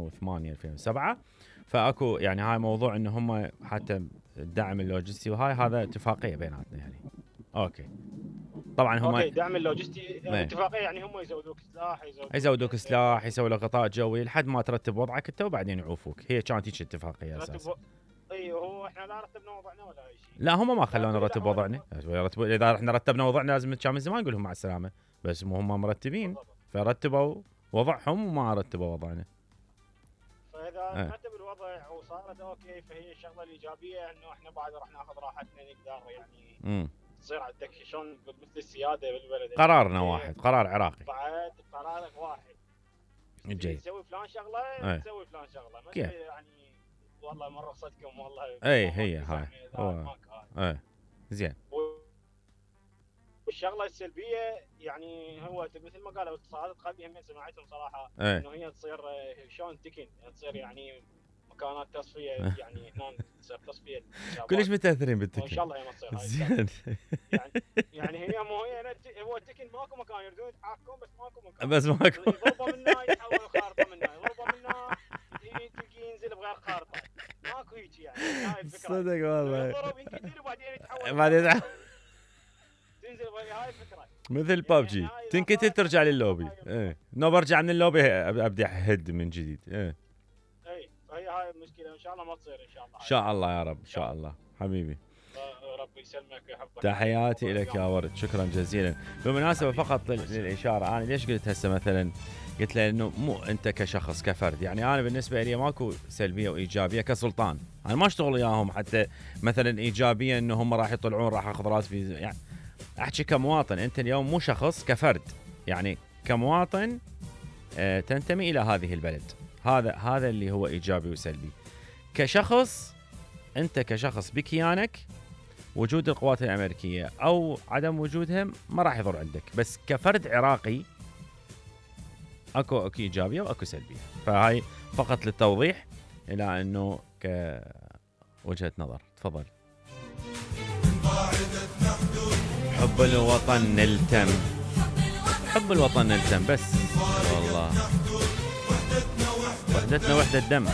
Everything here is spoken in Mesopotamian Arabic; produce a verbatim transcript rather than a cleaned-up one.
وثمانية ألفين وسبعة. فاكو يعني هاي موضوع انه هم حتى الدعم اللوجستي وهاي هذا اتفاقيه بيناتنا يعني. اوكي طبعا هم اوكي دعم اللوجستي اتفاقيه يعني هم يزودوك سلاح يزودوك يزودوك سلاح يسوي لك غطاء جوي لحد ما ترتب وضعك انت وبعدين يعوفوك. هي كانت هيك اتفاقيه اساسا. اي هو احنا لا رتبنا وضعنا ولا اي شيء. لا هم ما خلونا نرتب وضعنا. اذا احنا رتبنا وضعنا لازم كان من زمان نقول لهم مع السلامه. بس مو هم مرتبين فرتبوا وضعهم وما رتبوا وضعنا. فاذا اه. رتب الوضع وصارت اوكي فهي الشغله الايجابيه انه احنا بعد راح ناخذ راحتنا نقدر يعني امم تصير عندك شلون مثل السياده بالبلد. قرارنا واحد قرار عراقي. بعد قرارك واحد. جيد. تسوي فلان شغله تسوي فلان شغله ما يعني والله من رخصتكم والله. اي هي هاي. اي زين. والشغله السلبيه يعني هو مثل ما قالوا اتصالات قلبي هم سمعتهم صراحه ايه. انه هي تصير شلون تكن تصير يعني مكانات تصفيه يعني هنا تصير تصفيه. كلش متاثرين بالتكن. ان شاء الله هي ما تصير هاي. زين. يعني يعني هي مو هي هو التكن ماكو مكان يردون يتحكمون بس ماكو مكان. بس ماكو. يضربوا منا يحول خارطه منا يضربوا منا تلقي ينزل بغير خارطه. ماكو هيك يعني هاي الفكره. صدق والله. يضرب ينقتل وبعدين يتحول. بعدين تنزل هاي الفكره. مثل بابجي يعني تنقتل ترجع لللوبي. ايه نو برجع من اللوبي ابدي اهد من جديد. ايه اي فهي هاي المشكله ان شاء الله ما تصير ان شاء الله. ان شاء الله يا رب ان شاء الله حبيبي. ربي يسلمك ويحفظك. تحياتي لك يا ورد شكرا جزيلا. بالمناسبه فقط للاشاره انا ليش قلت هسه مثلا قلت له انه مو انت كشخص كفرد يعني انا بالنسبه لي ماكو سلبيه وايجابيه كسلطان. انا ما اشتغل وياهم حتى مثلا ايجابيه انه هم راح يطلعون راح اخذ راتبي يعني احكي كمواطن. انت اليوم مو شخص كفرد يعني كمواطن آه تنتمي الى هذه البلد. هذا هذا اللي هو ايجابي وسلبي. كشخص انت كشخص بكيانك وجود القوات الامريكيه او عدم وجودهم ما راح يضر عندك. بس كفرد عراقي اكو اكو ايجابيه واكو سلبيه. فهاي فقط للتوضيح الى انه كوجهه نظر. تفضل. حب الوطن نلتم حب الوطن نلتم بس والله وحدتنا وحدة دم.